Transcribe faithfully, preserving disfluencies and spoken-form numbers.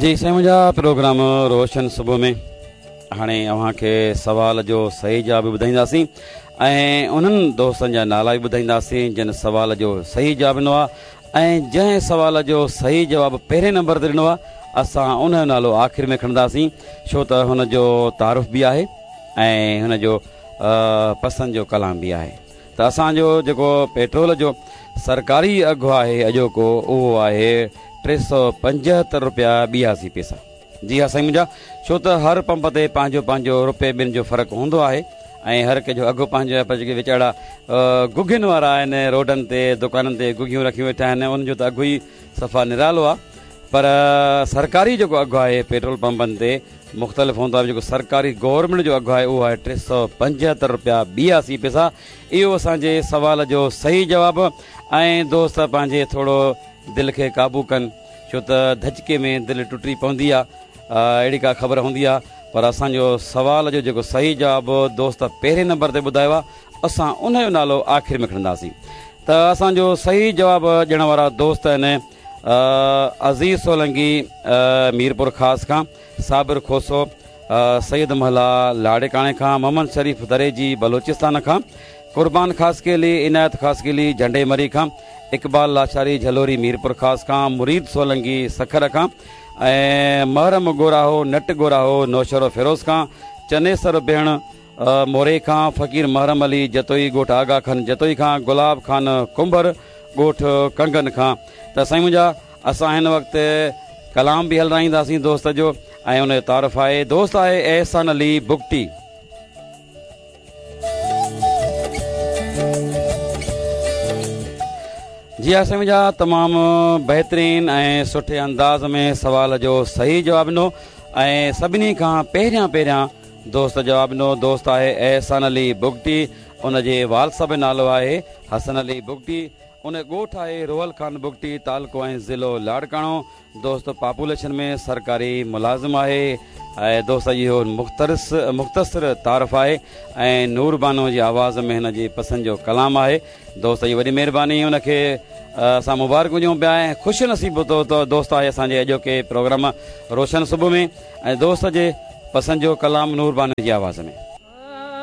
जी साईं मुंहिंजा प्रोग्राम रोशन सुबुह में हाणे अव्हां खे सवाल जो सही जवाब ॿुधाईंदासीं ऐं उन्हनि दोस्तनि जा नाला बि ॿुधाईंदासीं जिन सवाल जो सही जवाब ॾिनो आहे ऐं जंहिं सवाल जो सही जवाब पहिरें नंबर ते ॾिनो आहे असां उन जो नालो आख़िर में खणंदासीं, छो त हुन जो तारुफ़ बि आहे ऐं हुन जो पसंदि जो कलाम बि आहे। त असांजो जेको पेट्रोल जो सरकारी अघु आहे अॼोको उहो आहे टे सौ पंजहतरि रुपया ॿियासी पैसा। जी हा साईं मुंहिंजा, छो त हर पंप ते पंहिंजो पंहिंजो रुपए ॿिनि जो फ़र्क़ु हूंदो आहे ऐं हर कंहिंजो अघु पंहिंजो आहे, पर जेके वीचारा गुघियुनि वारा आहिनि रोडनि ते दुकाननि ते गुघियूं रखियूं वेठा आहिनि उन्हनि जो त अघु ई सफ़ा निरालो आहे, पर सरकारी जेको अघु आहे पेट्रोल पंपनि ते मुख़्तलिफ़ हूंदो आहे। जेको सरकारी गवर्नमेंट जो अघु आहे उहो आहे टे सौ पंजहतरि रुपया ॿियासी पैसा। इहो असांजे सवाल जो सही जवाबु। ऐं दोस्त पंहिंजे थोरो दिलि खे क़ाबू कनि, छो त धचके में दिलि टुटी पवंदी आहे, अहिड़ी का ख़बर हूंदी आहे। पर असांजो सवाल जो जेको सही जवाबु दोस्त पहिरें नंबर ते ॿुधायो आहे असां उनजो नालो आख़िर में खणंदासीं। त असांजो सही जवाबु ॾियण वारा दोस्त आहिनि अज़ीज़ सोलंगी मीरपुर ख़ास खां, साबिर खोसो सैयद महला लाड़काणे खां, मोहम्मद शरीफ दरेजी बलोचिस्तान खां, कुर्बान खासकेली इनायत खासकेली झंडे मरी खां, इक़बाल लाशारी झलोरी मीरपुर ख़ास खां, मुरीद सोलंगी सखर खां ऐं महरम गोराहो नट गोराहो नौशहरो फिरोज़ खां, चनेसर भेण मोरे खां, फ़क़ीर महरम अली जतोई ॻोठ आगा खान जतोई खां, गुलाब खान कुंभर ॻोठ कंगन खां। त साईं मुंहिंजा, असां हिन वक़्तु कलाम बि हलाईंदासीं दोस्त जो ऐं उनजो तारुफ़ आहे। दोस्त आहे एहसान अली बुगटी। जी हा साईं मुंहिंजा, तमामु बहितरीन ऐं सुठे अंदाज़ में सवाल जो सही जवाबु ॾिनो ऐं सभिनी खां पहिरियां पहिरियां दोस्त जवाबु ॾिनो। दोस्त आहे एहसान अली बुगटी, उनजे वाल साहिब जो नालो आहे हसन अली बुगटी, उन ॻोठ आहे रोहल खान बुगटी, तालुको ऐं ज़िलो लाड़काणो। दोस्त पॉपुलेशन में सरकारी मुलाज़िम आहे ऐं दोस्त इहो मुख़्तरिस मुख़्तसिर तारुफ़ आहे ऐं नूर बानो जी आवाज़ में हिन जी पसंदि जो कलाम आहे। दोस्त जी वॾी महिरबानी, उनखे असां मुबारकूं ॾियूं पिया ऐं ख़ुशि नसीब तो दोस्त आहे असांजे अॼोके प्रोग्राम रोशन सुबुह में ऐं दोस्त जे पसंदि जो कलाम नूर बानो जी आवाज़ में।